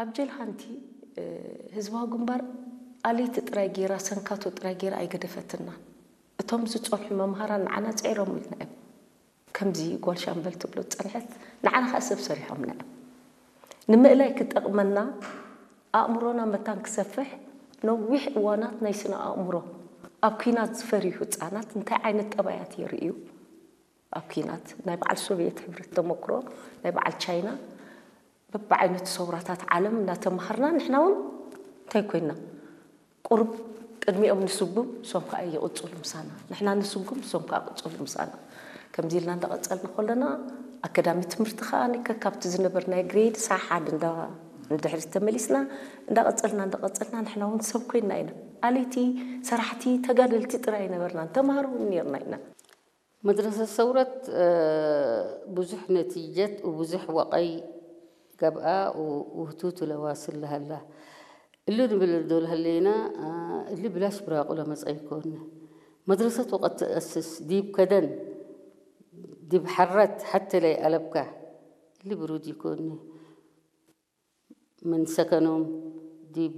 ኣብ ጀልሃንቲ ህዝባዊ ግንባር ኣለይቲ ጥራይ ገይራ፣ ሰንካቶ ጥራይ ገይራ ኣይገደፈትናን። እቶም ዝጸንሑ መምሃራን ንዓና ጽዒሮምልና እዮም። ከምዚ ጓል ሻምበል ትብሎ ዝጸንሐት ንዓና ከኣ ሰብ ሰሪሖምና እዮም። ንምእላይ ክጠቕመና፣ ኣእምሮና መታን ክሰፍሕ፣ ነዊሕ እዋናት ናይ ስነ ኣእምሮ ኣብ ኲናት ዝፈርዩ ህጻናት እንታይ ዓይነት ጠባያት የርእዩ? ኣብ ኲናት ናይ በዓል ሶቭየት ሕብረት ተመክሮ፣ ናይ በዓል ቻይና፣ በብዓይነቱ ሰውራታት ዓለም እናተማሃርና ንሕና እውን እንታይ ኮይና? ቁሩብ ቅድሚኦም ንስጉም፣ እሶም ከዓ ይቕጽሉ ምሳና። ንሕና ንስጉም፣ እሶም ከዓ ቅጽሉ ምሳና። ከምዚ ኢልና እንዳቐጸልና ከለና ኣከዳሚ ትምህርቲ ከዓ ንከ ካብቲ ዝነበርናዮ ግሬድ ሳሓድ እንዳ ንድሕሪት ተመሊስና እንዳቐጸልና እንዳቐጸልና ንሕና እውን ሰብ ኮይና ኢና። ኣለይቲ ሰራሕቲ ተጋደልቲ ጥራይ ኣይነበርናን፣ ተምሃሮ እውን ነርና ኢና። መድረሰት ሰውረት ብዙሕ ነቲጀት ወብዙሕ ወቐይ ገብኣ ውህቱቱ ለዋስል ለሃላ። እሉ ንብል ዶል ሀሌና እሊ ብላሽ ብራቁ ለመጸ ይኮን። መድረሰት ወቀት ተአስስ ዲብ ከደን ዲብ ሐረት ሐቴ ለይአለብካ እሊ ብሩድ ይኮን። ምን ሰከኖም ዲብ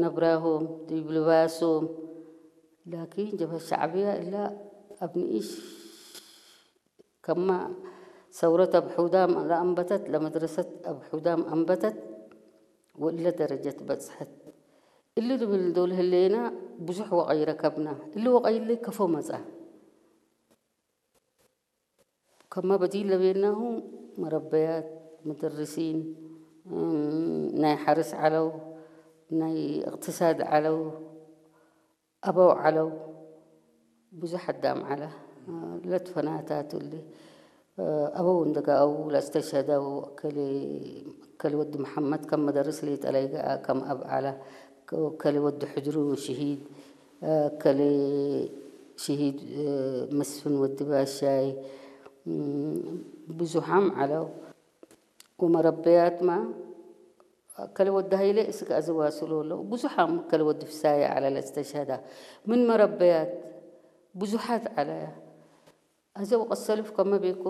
ነብራሆም ዲብ ልባሶም። ላኪን ጀብሀት ሸዕብያ እላ አብ ንኢሽ ከማ ሰውረት አብ ሑዳም ለአንበተት ለመድረሰት አብ ሑዳም አንበተት ወእለ ደረጀት በጽሐት። እሊ ንብል ዶል ህሌና ብዙሕ ወቀይ ረከብና። እሊ ወቀይ እሊ ከፎ መጻ። ከማ በዲል ለቤናሁ መረበያት፣ መደርሲን፣ ናይ ሐርስ ዐለው፣ ናይ እቅትሳድ ዐለው፣ አበው ዐለው፣ ብዙሕ አዳም ዐለ። ለትፈናታቱ እሊ አበው እንደጋአው ለእስተሸደው እከሌ ወዲ መሐመድ ከም መደርስ ሌጠ ለይገአ ከም አብ ዐለ። እከሌ ወዲ ሕድሩ ሽሂድ፣ እከሌ ሽሂድ መስፍን ወዲ ባሻይ፣ ብዙሓም ዐለው። ወመረበያትማ እከሌ ወዲ ሀይሌ እስክ አዘዋስሎ አለው። ብዙሓም እከሌ ወዲ ፍሳየ ዐለ ለእስተሸዳ። ምን መረበያት ብዙሓት ዐለ። አዘ ወቀት ሰልፍ ከመ ቤኮ